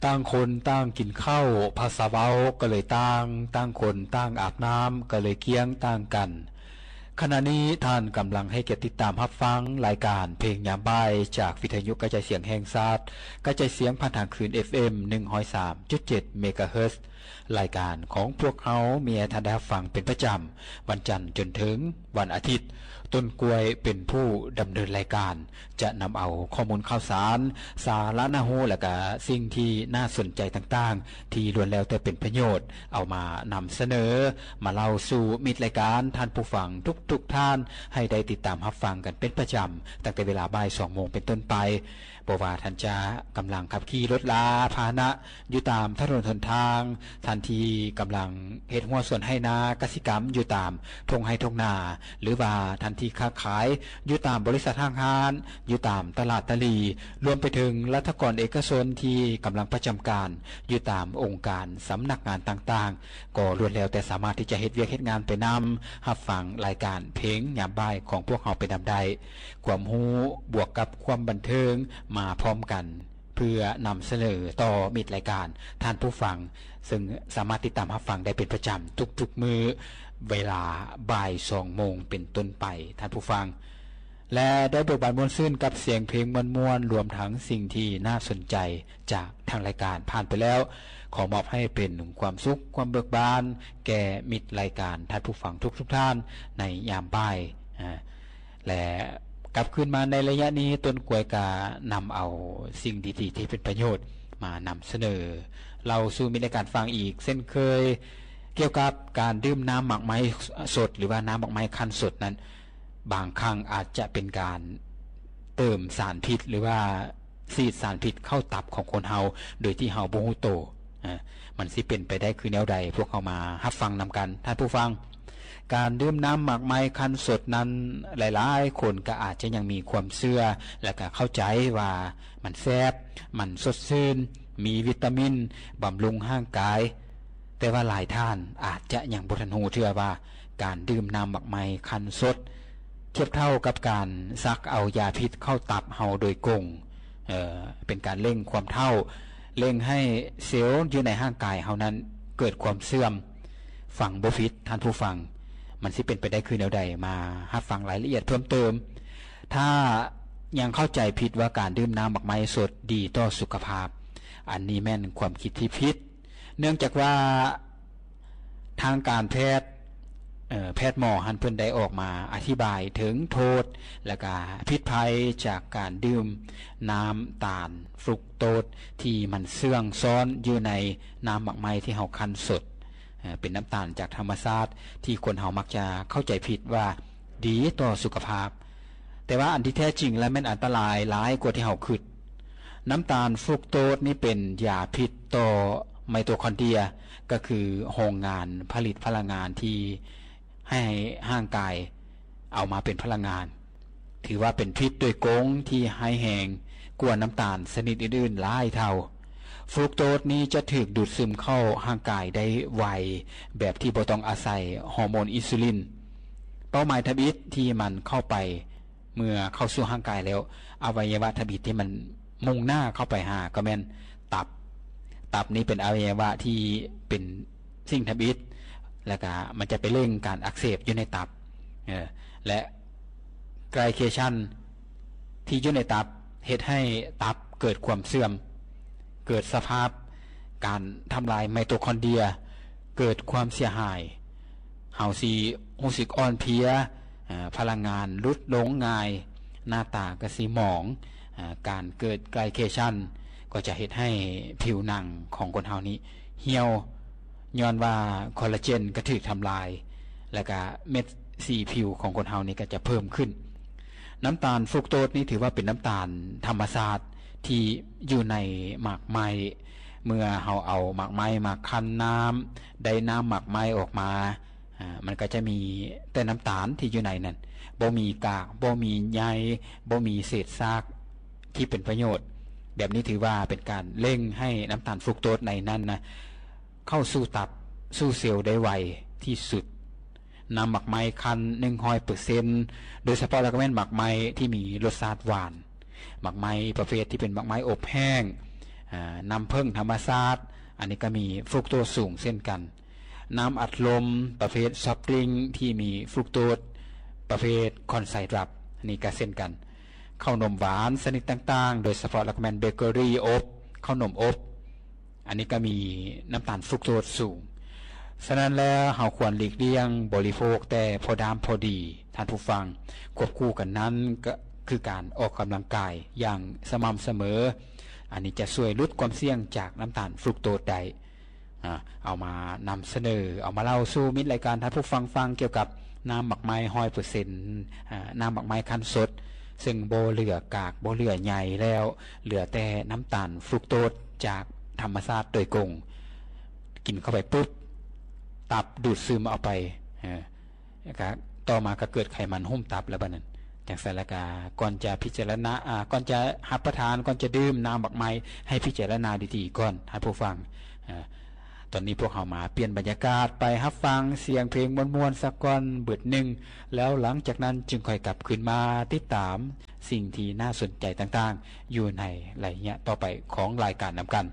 ຕ່າງຄົນຕ່າງກິນເຂົ້າ ພາສາເວົ້າກໍເລີຍຕ່າງ, ຕ່າງຄົນຕ່າງອາບນ້ຳ ກໍເລີຍກ້ຽງຕ່າງກັນ. ຂະນະນີ້ທ່ານກຳລັງໃຫ້ກຽດຕິດຕາມຮັບຟັງລາຍການເພງຍາມບ່າຍ ຈາກວິທະຍຸກະຈາຍສຽງແຫ່ງຊາດ, ກະຈາຍສຽງຜ່ານທາງຄື້ນ ເອັຟເອັມ ໜຶ່ງຮ້ອຍສາມຈຸດເຈັດ ເມກາເຮີດ. ລາຍການຂອງພວກເຮົາມີໃຫ້ທ່ານໄດ້ຮັບຟັງເປັນປະຈຳ ວັນຈັນຈົນເຖິງວັນອາທິດ. ຕົ້ນກ້ວຍເປັນຜູ້ດຳເນີນລາຍການ ຈະນຳເອົາຂໍ້ມູນຂ່າວສານ, ສາລະໜ້າຮູ້ ແລະກະສິ່ງທີ່ໜ້າສົນໃຈຕ່າງໆ ທີ່ລ້ວນແລ້ວແຕ່ເປັນປະໂຫຍດ ເອົາມານຳສະເໜີ, ມາເລົ່າສູ່ມິດລາຍການ, ທ່ານຜູ້ຟັງທຸກໆທ່ານ ໃຫ້ໄດ້ຕິດຕາມຮັບຟັງກັນເປັນປະຈຳ ຕັ້ງແຕ່ເວລາບ່າຍສອງໂມງເປັນຕົ້ນໄປ. ບໍ່ວ່າທ່ານຈະກຳລັງຂັບຂີ່ລົດລາພາຫະນະຢູ່ຕາມຖະໜົນຫົນທາງ, ທ່ານທີ່ກຳລັງເຮັດຮົ້ວສວນໄຮ່ນາກະສິກຳຢູ່ຕາມທົ່ງໄຮ່ທົ່ງນາ, ຫຼືວ່າທ່ານທີ່ຄ້າຂາຍຢູ່ຕາມບໍລິສັດຫ້າງຮ້ານ, ຢູ່ຕາມຕະຫຼາດຕະຫຼີ່, ລວມໄປເຖິງລັດຖະກອນເອກະຊົນທີ່ກຳລັງປະຈຳການຢູ່ຕາມອົງການສຳນັກງານຕ່າງໆ, ກໍລ້ວນແລ້ວແຕ່ສາມາດທີ່ຈະເຮັດວຽກເຮັດງານໄປນຳ, ຮັບຟັງລາຍການເພງຍາມບ່າຍຂອງພວກເຮົາໄປນຳໄດ້. ຄວາມຮູ້ບວກກັບຄວາມບັນເທີງມາພ້ອມກັນ ເພື່ອນຳສະເໜີຕໍ່ມິດລາຍການທ່ານຜູ້ຟັງ, ເຊິ່ງສາມາດຕິດຕາມຮັບຟັງໄດ້ເປັນປະຈຳທຸກໆມື້ ເວລາບ່າຍສອງໂມງເປັນຕົ້ນໄປ, ທ່ານຜູ້ຟັງ ແລະ ໄດ້ເບີກບານມ່ວນຊື່ນກັບສຽງເພງມ່ວນໆ, ລວມທັງສິ່ງທີ່ໜ້າສົນໃຈຈາກທາງລາຍການຜ່ານໄປແລ້ວ, ຂໍມອບໃຫ້ເປັນຄວາມສຸກ, ຄວາມເບີກບານແກ່ມິດລາຍການ, ທ່ານຜູ້ຟັງທຸກໆທ່ານໃນຍາມບ່າຍ. ແລະ ກັບຄືນມາໃນໄລຍະນີ້, ຕົ້ນກ້ວຍກະນຳເອົາສິ່ງດີໆທີ່ເປັນປະໂຫຍດມານຳສະເໜີ, ເລົ່າສູ່ມິດລາຍການຟັງອີກເຊັ່ນເຄີຍ, ກ່ຽວກັບການດື່ມນ້ຳໝາກໄມ້ສົດ ຫຼືວ່ານ້ຳໝາກໄມ້ຄັ້ນສົດນັ້ນ, ບາງຄັ້ງອາດຈະເປັນການເຕີມສານພິດ ຫຼືວ່າສີດສານພິດເຂົ້າຕັບຂອງຄົນເຮົາ ໂດຍທີ່ເຮົາບໍ່ຮູ້ໂຕ. ອາ ມັນຊິເປັນໄປໄດ້ຄືແນວໃດ? ພວກເຮົາມາຮັບຟັງນຳກັນ, ທ່ານຜູ້ຟັງ. ການດື່ມນ້ຳໝາກໄມ້ຄັ້ນສົດນັ້ນ, ຫຼາຍໆຄົນກໍອາດຈະຍັງມີຄວາມເຊື່ອ ແລະ ກໍເຂົ້າໃຈວ່າມັນແຊບ, ມັນສົດຊື່ນ, ມີວິຕາມິນ, ບຳລຸງຮ່າງກາຍ. ແຕ່ວ່າຫຼາຍທ່ານອາດຈະຍັງບໍ່ທັນຮູ້ເທື່ອວ່າ ການດື່ມນ້ຳໝາກໄມ້ຄັ້ນສົດ ທຽບເທົ່າກັບການສັກເອົາຢາພິດເຂົ້າຕັບເຮົາໂດຍກົງ. ເອີ ເປັນການເລັ່ງຄວາມເຖົ້າ, ເລັ່ງໃຫ້ເຊວຢູ່ໃນຮ່າງກາຍເຮົານັ້ນເກີດຄວາມເສື່ອມ. ຟັງບໍ່ຜິດ, ທ່ານຜູ້ຟັງ, ມັນຊິເປັນໄປໄດ້ຄືແນວໃດ? ມາຮັບຟັງລາຍລະອຽດເພີ່ມເຕີມ. ຖ້າຍັງເຂົ້າໃຈຜິດວ່າການດື່ມນ້ຳໝາກໄມ້ສົດດີຕໍ່ສຸຂະພາບ, ອັນນີ້ແມ່ນຄວາມຄິດທີ່ຜິດ. ເນື່ອງຈາກວ່າທາງການແພດ, ເອີ, ແພດໝໍຫັ້ນເພິ່ນໄດ້ອອກມາອະທິບາຍເຖິງໂທດ ແລະກະພິດໄພຈາກການດື່ມນ້ຳຕານຟຣຸກໂຕດທີ່ມັນເຊື່ອງຊ້ອນຢູ່ໃນນ້ຳໝາກໄມ້ທີ່ເຮົາຄັ້ນສົດ, ເປັນນ້ຳຕານຈາກທຳມະຊາດທີ່ຄົນເຮົາມັກຈະເຂົ້າໃຈຜິດວ່າ ດີຕໍ່ສຸຂະພາບ. ແຕ່ວ່າອັນທີ່ແທ້ຈິງແລ້ວແມ່ນອັນຕະລາຍຫຼາຍກວ່າທີ່ເຮົາຄິດ. ນ້ຳຕານຟຣຸກໂຕດນີ້ເປັນຢາພິດຕໍ່ໄມໂຕຄອນເດຍ, ກໍຄືໂຮງງານຜະລິດພະລັງງານທີ່ໃຫ້ຮ່າງກາຍເອົາມາເປັນພະລັງງານ. ຖືວ່າເປັນພິດໂດຍກົງທີ່ຮ້າຍແຮງກວ່ານ້ຳຕານຊະນິດອື່ນໆຫຼາຍເທົ່າ. ຟຣຸກໂຕດນີ້ຈະຖືກດູດຊຶມເຂົ້າຮ່າງກາຍໄດ້ໄວ ແບບທີ່ບໍ່ຕ້ອງອາໄສຮໍໂມນອິນຊູລິນ. ເປົ້າໝາຍທຳອິດທີ່ມັນເຂົ້າໄປ ເມື່ອເຂົ້າສູ່ຮ່າງກາຍແລ້ວ, ອະໄວຍະວະທຳອິດທີ່ມັນມຸ່ງໜ້າເຂົ້າໄປຫາກໍແມ່ນຕັບ. ຕັບນີ້ເປັນອະໄວຍະວະທີ່ເປັນສິ່ງທຳອິດ, ແລ້ວກະມັນຈະໄປເລັ່ງການອັກເສບຢູ່ໃນຕັບ. ເອີ ແລະ ໄກລເຄຊັນທີ່ຢູ່ໃນຕັບເຮັດໃຫ້ຕັບເກີດຄວາມເສື່ອມ, ເກີດສະພາບການທຳລາຍໄມໂຕຄອນເດຍ, ເກີດຄວາມເສຍຫາຍ. ເຮົາຊິຮູ້ສຶກອ່ອນເພຍ, ເອີ ພະລັງງານຫຼຸດລົງງ່າຍ, ໜ້າຕາກໍຊິໝອງ. ເອີ ການເກີດໄກລເຄຊັນກໍຈະເຮັດໃຫ້ຜິວໜັງຂອງຄົນເຮົານີ້ຫ່ຽວ, ຍ້ອນວ່າຄໍລາເຈນກໍຖືກທຳລາຍ, ແລ້ວກະເມັດສີຜິວຂອງຄົນເຮົານີ້ກໍຈະເພີ່ມຂຶ້ນ. ນ້ຳຕານຟຣຸກໂຕດນີ້ຖືວ່າເປັນນ້ຳຕານທຳມະຊາດທີ່ຢູ່ໃນໝາກໄມ້. ເມື່ອເຮົາເອົາໝາກໄມ້ມາຄັ້ນນ້ຳ, ໄດ້ນ້ຳໝາກໄມ້ອອກມາ, ອາ, ມັນກໍຈະມີແຕ່ນ້ຳຕານທີ່ຢູ່ໃນນັ້ນ, ບໍ່ມີກາກ, ບໍ່ມີໃຍ, ບໍ່ມີເສດຊາກທີ່ເປັນປະໂຫຍດ. ແບບນີ້ຖືວ່າເປັນການເລັ່ງໃຫ້ນ້ຳຕານຟຣຸກໂຕດໃນນັ້ນນະ ເຂົ້າສູ່ຕັບ, ສູ່ເຊວໄດ້ໄວທີ່ສຸດ. ນ້ຳໝາກໄມ້ຄັ້ນໜຶ່ງຮ້ອຍເປີເຊັນ, ໂດຍສະເພາະແລ້ວກໍແມ່ນໝາກໄມ້ທີ່ມີລົດຊາດຫວານ. ໝາກໄມ້ປະເພດທີ່ເປັນໝາກໄມ້ອົບແຫ້ງ, ອາ ນ້ຳເຜິ້ງທຳມະຊາດ ອັນນີ້ກໍມີຟຣຸກໂຕສສູງເຊັ່ນກັນ. ນ້ຳອັດລົມປະເພດຊອບດຣິງທີ່ມີຟຣຸກໂຕປະເພດຄອນໄຊດຣັບ ອັນນີ້ກໍເຊັ່ນກັນ. ເຂົ້າໜົມຫວານຊະນິດຕ່າງໆ ໂດຍສະເພາະແລ້ວກໍແມ່ນເບເກີຣີອົບ ເຂົ້າໜົມອົບ ອັນນີ້ກໍມີນ້ຳຕານຟຣຸກໂຕສສູງ. ສະນັ້ນແລ້ວ ເຮົາຄວນຫຼີກລ່ຽງບໍລິໂພກແຕ່ພໍດາມພໍດີ ທ່ານຜູ້ຟັງ. ຄວບຄູ່ກັນນັ້ນກໍຄືການອອກກຳລັງກາຍຢ່າງສະໝ່ຳສະເໝີ. ອັນນີ້ຈະຊ່ວຍຫຼຸດຄວາມສ່ຽງຈາກນ້ຳຕານຟຣຸກໂຕສໄດ້. ອາ ເອົາມານຳສະເໜີ ເອົາມາເລົ່າສູ່ມິດລາຍການທ່ານຜູ້ຟັງຟັງ ກ່ຽວກັບນ້ຳໝາກໄມ້ຮ້ອຍເປີເຊັນ ອາ ນ້ຳໝາກໄມ້ຄັ້ນສົດ ເຊິ່ງບໍ່ເຫຼືອກາກ ບໍ່ເຫຼືອໃຍແລ້ວ ເຫຼືອແຕ່ນ້ຳຕານຟຣຸກໂຕສຈາກທຳມະຊາດໂດຍກົງ. ກິນເຂົ້າໄປປຸບ ຕັບດູດຊຶມເອົາໄປ ເອີ ແລ້ວກະຕໍ່ມາກໍເກີດໄຂມັນຫຸ້ມຕັບແລ້ວບັດນັ້ນ. ຈັ່ງຊັ້ນແລ້ວກະ ກ່ອນຈະພິຈາລະນາ ອາ ກ່ອນຈະຮັບປະທານ ກ່ອນຈະດື່ມນ້ຳໝາກໄມ້ ໃຫ້ພິຈາລະນາດີໆກ່ອນ ທ່ານຜູ້ຟັງ. ອາ ຕອນນີ້ພວກເຮົາມາປ່ຽນບັນຍາກາດ ໄປຮັບຟັງສຽງເພງມ່ວນໆສັກກ່ອນບຶດໜຶ່ງ ແລ້ວຫຼັງຈາກນັ້ນຈຶ່ງຄ່ອຍກັບຄືນມາຕິດຕາມສິ່ງທີ່ໜ້າສົນໃຈຕ່າງໆ ຢູ່ໃນໄລຍະຕໍ່ໄປຂອງລາຍການນຳກັນ.